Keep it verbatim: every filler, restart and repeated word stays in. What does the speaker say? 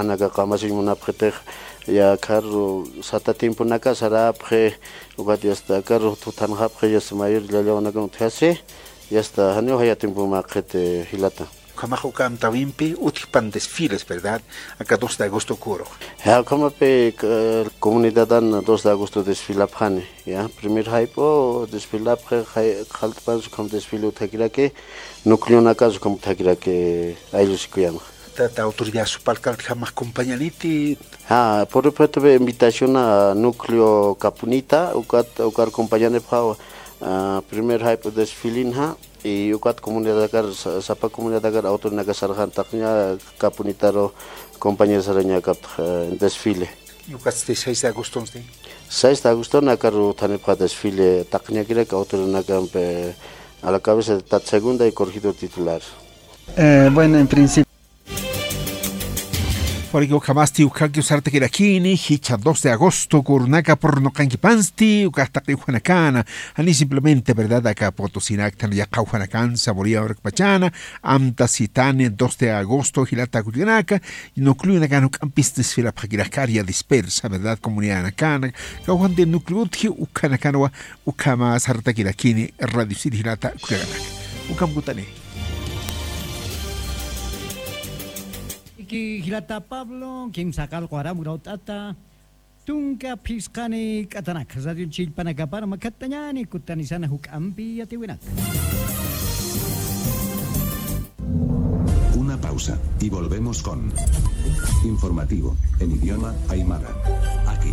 Anaka qamasiñ munapxitix, ya carro sata tiemponaka sarapxi, ukat yasta carro tuthanxapxi, yasta mayor llallawanakam utjasi, yasta janiw jaya tiempo maqxiti jilata. Ukhamax uka amtawimpi utjpan desfiles, ¿verdad? Aka dos de agosto kurux. Ya, ukhamapi, eh, comunidadan dos de agosto desfilapxani, ya. Primer jayp'u desfilapxi, jay-, qallt'pansa ukham desfile utjakiraki, núcleonakas ukham utjakiraki, ayllusikuyama. Tata autoridad supalkaltjamax compañaniti. Ha, por ejemplo, invitación a núcleo Capunita, ukat, ukar compañanipxaw, ah, primer jayp'u desfilinxa, y ukat comunidadakar, sa-, sapa comunidadakar autorinaka sarxan taqña Capunitaru compañero saraña kaptx, eh, desfile. Y ukatsti seis de agosto, ¿sí? Seis de agosto nakaru thanipxa desfile taqñakirak autorinakampi a la cabeza de tat segunda y corregidor titular. Eh, bueno, en principio. Porque ukhamasti ukhaki usartakirakini, jichha dos de agosto, kurunaka purnuqankipansti, ukax taqi ujanakana, ani simplemente, ¿verdad? Aka Potosinaktan, yaqha ujanakan, Saboría, Urkpachana, amtasitani, dos de agosto, jilata kullakanaka, núcleonakan juk'ampis desfilapxakirakar, ya dispersa, ¿verdad? Comunidadanakana, kawjan de núcleo utji, ukhanakanwa, ukhama sartakirakini, Radio Isil jilata kullakanaka. Ukham kutani. Iki jilata Pablo, kimsa qallqu aram urawt'ata, tunka phisqani k'atanak, radio chillpanakapar makatañani kutanisana juk'ampi yatiwinak. Una pausa, y volvemos con informativo en idioma aymara. Aquí.